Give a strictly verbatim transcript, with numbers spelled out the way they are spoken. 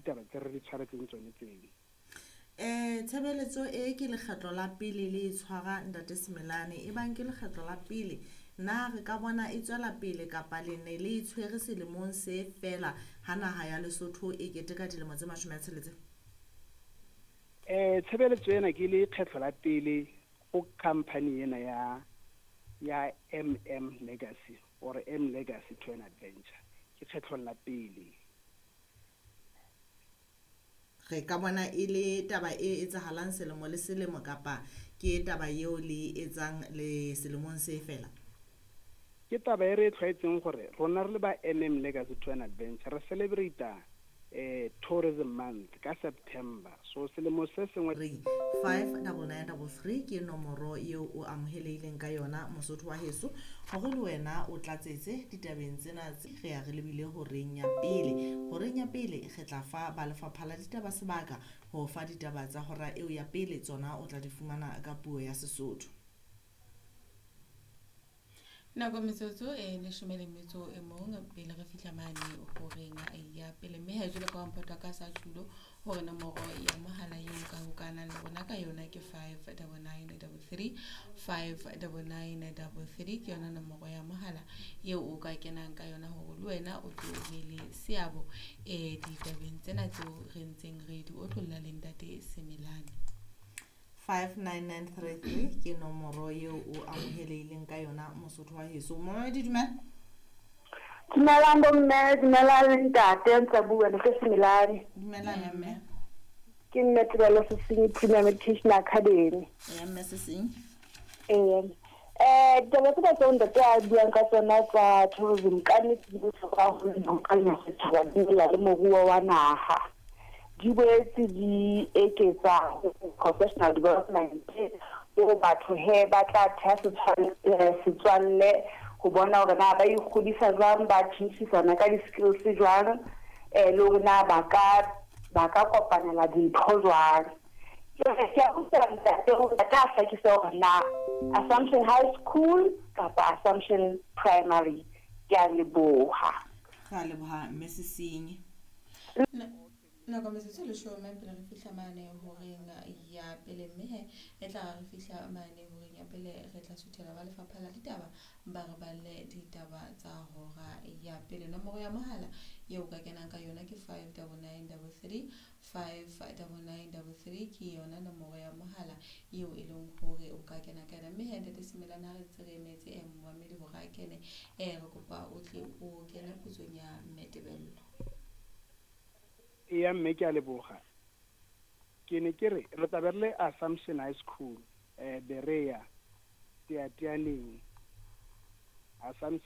Ditaba tse re di tshwaretseng tsone tseo. um Tshebeletso e ke lekgetlo la pele le e tshwara, Ntate Semelane? E bang ke lekgetlo la pele, na re ka bona e tswela pele, kapa le ne le e tshwere selemong se fela ha naha ya Lesotho e keteka dilemo tse mashome a tsheletseng? um Tshebeletso ena ke lekgetlo la pele go company ena ya ya M M Legacy or M Legacy to an Adventure, ke kgetlong la pele. Re ka bona e le taba e etsahalang selemo le selemo, kapa ke taba eo le etsang le selemong se fela? Ke taba e re e tlwaetseng gore rona re le ba M M Legacy to an Adventure re celebrata eh Tourism Month ka September, so selemo se sengwe. Three five double nine double three ke nomoro eo o amohelehileng ka yona, Mosotho wa heso, hore le wena o tlatsetse ditabeng tsena tse re ya re lebile horeng ya pele. Horeng ya pele re tla fa ba lefapha la ditaba sebaka ho fa ditaba tsa hora eo ya pele. Tsona o tla di fumana ka puo ya Sesotho. Nako metsotso e leshome le metso e mong pele re fihla mane horeng ya pele, mme ha jwalo ka wa ka sa tjhulo hore nomoro ya mohala eo ka hokahanang le rona ka yona ke five double nine double three, five double nine double three ke yona nomoro ya mohala eo o ka kenang ka yona hore le wena o tlo be le seabo um ditabeng tsena tseo re ntseng re di otlolla le Ntate Semelane. Five nine nine three three ke nomoro eo o amohelehileng ka yona, Mosotho wa heso. Momamedi, dumela. Dumelang bomme, dumelang le ntate, ntse bua le Semelane. Dumelang, mme. Ke nne Tebelo Sesenyi, Premium Education Academy. Ya, mme Sesenyi. Ee. Eh ditaba tsena tseo ntate a buang ka tsona tsa tourism, ka nnete di bohlokwa haholo ho setjhaba di le moruo wa naha. Di boetse di eketsa professional development ho batho he ba tla theha setswalle ho bona hore na ba ikgodisa jwang, ba tjhentjhisana ka di-skills jwang, um le hore na ba ka ba ka kopanela dintho jwang. Jwale ke a utlwa ntate hore ntate a hlakise hore na Assumption High School kapa Assumption Primary. Ke a leboha. Re a leboha, mme Sesenyi. Nako metsotso e leshome pele re fihla mane horeng ya pele, mme he e tla re fihla mane horeng ya pele re tla suthela ba lefapha la ditaba ba re balle ditaba tsa hora ya pele. Nomoro ya mohala eo ka kenang ka yona ke five double nine double three, five double nine double three ke yona nomoro ya mohala eo e leng hore o ka kena ka yona. Mme he, Ntate Semelane, ha re ntse re emetse um momamedi hore a kene, um re kopa o tle o kene potsong ya Mme Tebello. Eya mme, ke a leboga. Ke ne ke re re tla be re le Assumption High School, um Berea, Teateaneng, Assumption.